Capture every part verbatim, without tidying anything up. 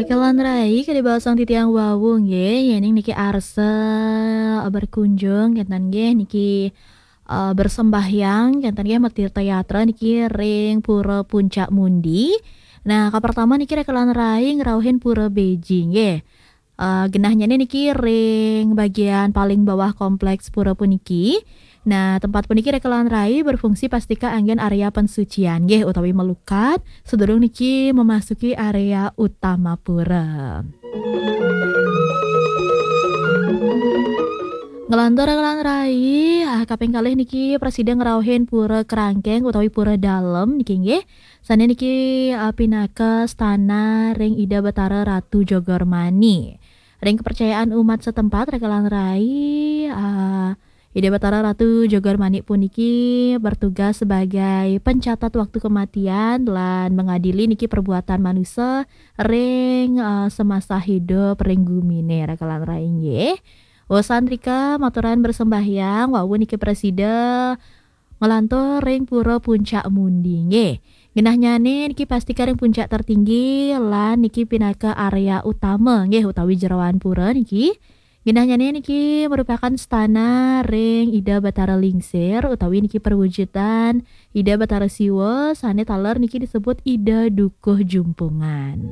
Kalan rai, kada basang titiang wau nggih, yening niki arsa, eh, berkunjung, kenten nggih, niki, eh, bersembahyang, kenten nggih, metir teatra niki ring Pura Puncak Mundi. Nah, kapertama niki rekalan rai ngrauhin Pura Beji nggih. Eh, genahnya niki ring bagian paling bawah kompleks pura puniki. Nah, tempat puniki rekalan rai berfungsi pastika anggen area pensucian nggih utawi melukat sedurung niki memasuki area utama pura. Ngelantur rekalan rai, ah, kaping kalih niki prasida ngrauhin pura kerangkeng utawi pura dalem niki nggih. Sane niki, ah, pinaka stana ring Ida Batara Ratu Jogor Mani. Ring kepercayaan umat setempat, rekalan rai, ah, Ida Batara Ratu Jogor Mani puniki bertugas sebagai pencatat waktu kematian lan mengadili niki perbuatan manusia ring, ah, semasa hidup ring gumine, rekalan rai nggih. Wasan rika maturan bersembahyang, wau niki prasida ngelantur ring Pura Puncak Mundi nggih. Genahnyane niki pastika ring puncak tertinggi lan niki pinaka area utama nggih utawi jeroan pura niki. Genahnyane niki merupakan stana ring Ida Batara Lingsir utawi niki perwujudan Ida Batara Siwa sane taler niki disebut Ida Dukuh Jumpungan.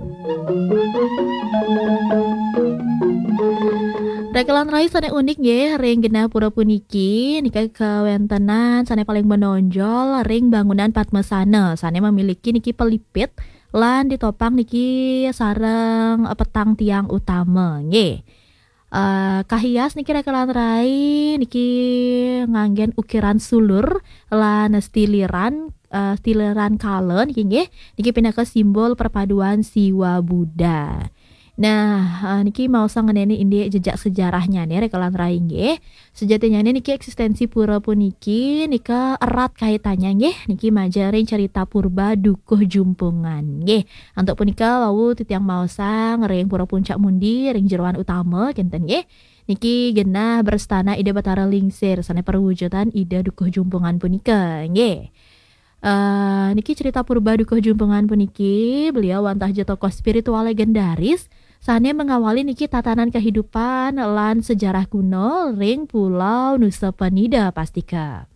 Rekalan rai sane unik nggih ring genah pura puniki nika kawentenan sane paling menonjol ring bangunan Padmasana sane memiliki niki pelipit lan ditopang niki sareng, eh, petang tiang utama nggih. Eh, kahias niki rekalan rai niki nganggen ukiran sulur lan stiliran, eh, stiliran kala niki nggih. Niki pinaka simbol perpaduan Siwa Buddha. Nah, eh, niki maosang ngeneni indik jejak sejarahnya nih rekalan rai nggih. Sejatinya nih niki eksistensi pura puniki nika erat kaitannya nggih. Niki majaring cerita purba Dukuh Jumpungan nggih. Antuk punika wau titiang maosang ring Pura Puncak Mundi ring jeroan utama kenten nggih. Niki genah berstana Ida Batara Lingsir sane perwujudan Ida Dukuh Jumpungan punika nggih. Eh, niki cerita purba Dukuh Jumpungan puniki, beliau wantah ja tokoh spiritual legendaris sane mengawali niki tatanan kehidupan lan sejarah kuno ring Pulau Nusa Penida pastika.